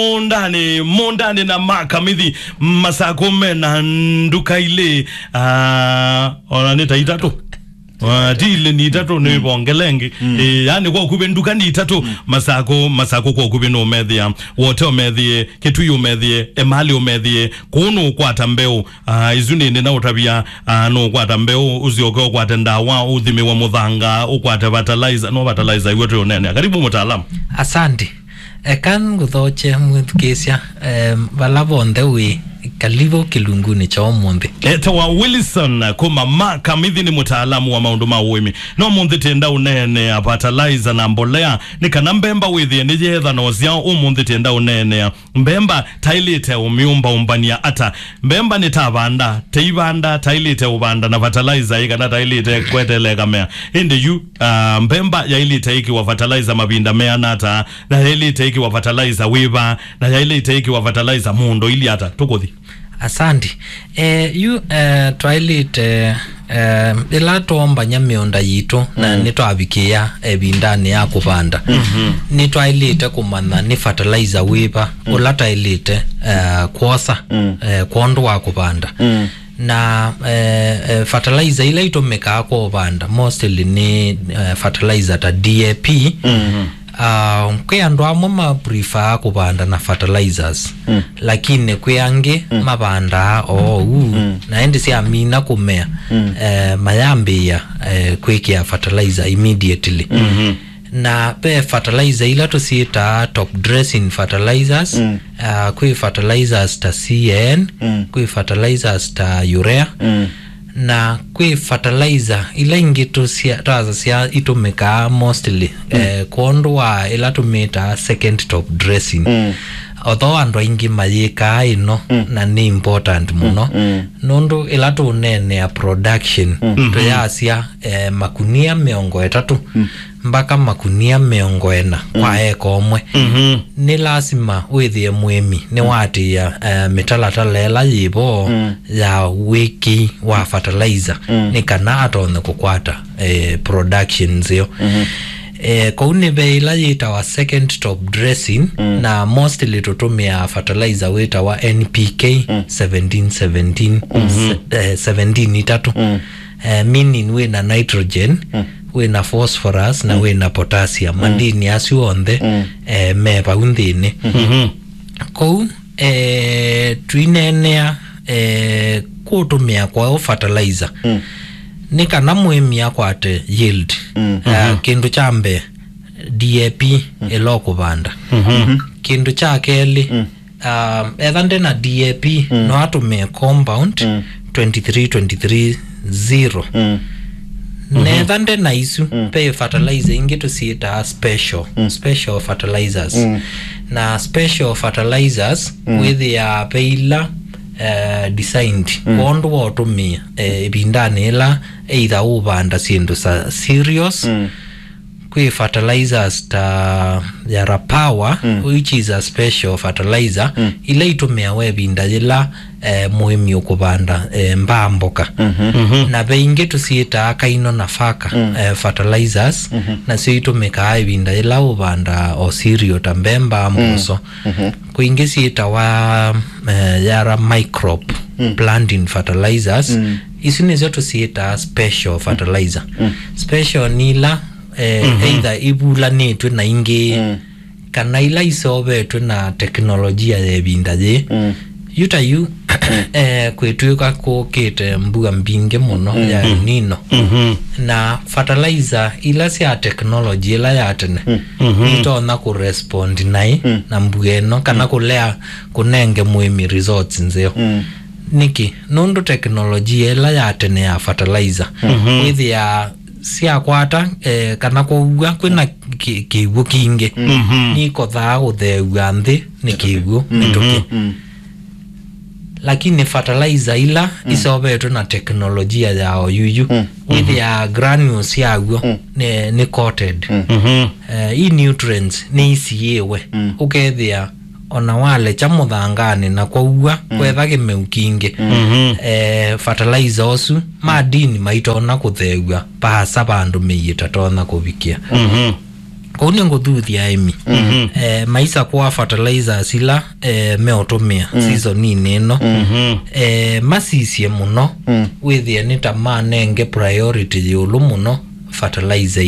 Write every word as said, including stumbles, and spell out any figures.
Mũndanĩ, mũndanĩ na makamithi, Masakũ me na nduka ilĩ, ah, ona nĩ ta itatũ. Ah, ti ilĩ, nĩ itatũ, nĩ ivongele ĩngĩ. Ĩĩ, yani kwa ũkuvĩ nduka nĩ itatũ, Masakũ, Masakũ kwa ũkuvĩ nũmethĩa, Wote ũmethĩe, Kĩtui ũmethĩe, Emali ũmethĩe, kũu nũkwata mbeũ. Ah, isu nĩ nĩ na ũtavya, ah, nũkwata mbeũ, ũsyoke ũkwate ndawa, ũthimĩwe mũthanga, ũkwate fertilizer, no fertilizer iwe twĩ ũnene. Karibu mũtaalamu. Asante. Eka ngũthokye mwĩthukĩĩsya, em, vala vonthe wĩ, kalivu kĩlungunĩ kya ũmũnthĩ. Etawa Wilson kuma Makamithi, nĩ mũtaalamu wa maũndũ ma ũĩmi. No ũmũnthĩ tenda ũneenea fertilizer na mbolea, nĩ kana mbemba wĩthĩe nĩ yetha na ũsyaũ. Ũmũnthĩ tenda ũneenea mbemba taĩlĩte ũmyũmbaũmbany'a ata. Mbemba nĩ ta vanda, teivanda taĩlĩte ũvanda na fertilizer ĩ kana taĩlĩte kweteela ĩkamea. Ĩndĩ yu, ah, mbemba yaĩlĩte ĩkĩwa fertilizer mavinda meana ata? Na yaĩlĩte ĩkĩwa fertilizer wĩva, na yaĩlĩte ĩkĩwa fertilizer mũũndo ili ata? Tũkũthi. Asante. Eh, yu, eh, twaĩlĩte, eh, ĩla twombany'a mĩũnda yitũ na nĩtwavikĩa ĩvindanĩ ya kũvanda, nĩtwaĩlĩte kũmanya nĩ fertilizer wĩva ũla taĩlĩte, eh, kwosa, eh, kwondũ wa kũvanda. Na, eh, eh, fertilizer ila itũmĩkaa kwa ũvanda mostly nĩ, eh, fertilizer ta D A P. Ah, kwĩ andũ amwe ma prefer kũvanda na fertilizers, lakini kwĩ angĩ mavandaa oou, na ĩndĩ syamina kũmea, eh, mayambĩĩa, eh, kwĩkĩa fertilizer immediately. Na ve fertilizer ila tũsyĩtaa top dressing fertilizers, ah, kwĩ fertilizers ta C A N, kwĩ fertilizers ta urea, na kwĩ fertilizer ila ingĩ tũsya-, twasasya itũmĩkaa mostly, eh, kwondũ wa ĩla tũmĩtaa second top dressing. Although andũ aingĩ mayĩkaa ĩno, na nĩ important mũno, nũndũ ĩla tũneenea production, tũyasya, eh, makunia mĩongo ĩtatũ mpaka makunia mĩongo ĩna kwa eka ũmwe. Nĩ lasima wĩthĩe mũĩmi nĩwatĩĩa, eh, mĩtalatala ĩla yĩvo ya wĩkĩi wa fertilizer, nĩ kana atonye kũkwata, eh, production nzeo. Eh, kũu nĩ ve ĩla yĩtawa second top dressing, na mostly tũtũmĩaa fertilizer wĩtawa N P K seventeen seventeen, se-, eh, seventeen itatũ. Eh, meaning wĩ na nitrogen, wĩ na phosphorus, na wĩ na potassium. Mandini asu onthe, eh, me vau nthĩnĩ. Kũu, eh, twineenea, eh, kũtũmĩa kwayo fertilizer, nĩ kana mũĩmi akwate yield. Eh, kĩndũ kya mbee, D A P ĩla ũkũvanda. Kĩndũ kya kelĩ, um, etha nde na D A P, no atũmĩe compound twenty-three twenty-three zero. Na etha nde na isu, ve fertilizer ingĩ tũsyĩtaa special, special fertilizers. Na special fertilizers wĩthĩaa ve ila, eh, designed kwondũ wa ũtũmĩa, eh, ĩvindanĩ ĩla either ũvanda syĩndũ sa cereals, kwĩ fertilizers ta Yara Power, which is a special fertilizer, ila itũmĩawa ĩvinda yĩla, eh, mũĩmi ũkũvanda, eh, mbaa mboka. Na ve ingĩ tũsyĩtaa kaino nafaka, eh, fertilizers, nasyo itũmĩkaa ĩvinda yĩla ũvanda o cereal ta mbemba, mboso. Kwĩ ingĩ syĩtawa, eh, Yara Microp planting fertilizers. Isu nĩsyo tũsyĩtaa special fertilizer. Special nĩ ila, eh, either ivulanĩtw'e na ingĩ, kana ila iseũvetwe na teknolojia ya ĩvinda yĩĩ. Yu ta yu, eh, kwĩtw'ĩka kũkĩte mbua mbingĩ mũno ya El Nino. Na fertilizer ila sya technology ila ya tene itonya kũrespond naĩ na mbua ĩno, kana kũlea kũnenge mũĩmi results nzeo. Nĩkĩ? Nũndũ teknolojia ĩla ya tene ya fertilizer wĩthĩaa syakwata, eh, kana kũua kwĩna kĩ-, kĩw'ũ kingĩ, nikothaa kũtheew'a nthĩ nĩ kĩw'ũ mĩtũkĩ. Lakini fertilizer ila iseũvetwe na teknolojia ya oyuyu, wĩthĩaa granules yaw'o nĩ, nĩ coated. Eh, i nutrients nĩ isiĩwe. Ũkethĩa ona walekya mũthanganĩ na kwaua, kwetha kĩmeu kingĩ, eh, fertilizer ũsu, madini maitona kũtheew'a vaasa vandũ mĩi ĩtatonya kũvikĩa. Kũu nĩ ngũthuthya aĩmi. Mhm. Eh, maisa kwa fertilizers ila, eh, meũtũmĩa seasoninĩ ĩno. Mhm. Eh, masisye mũno, wĩthĩe nĩ ta manenge priority yĩũlũ mũno fertilizer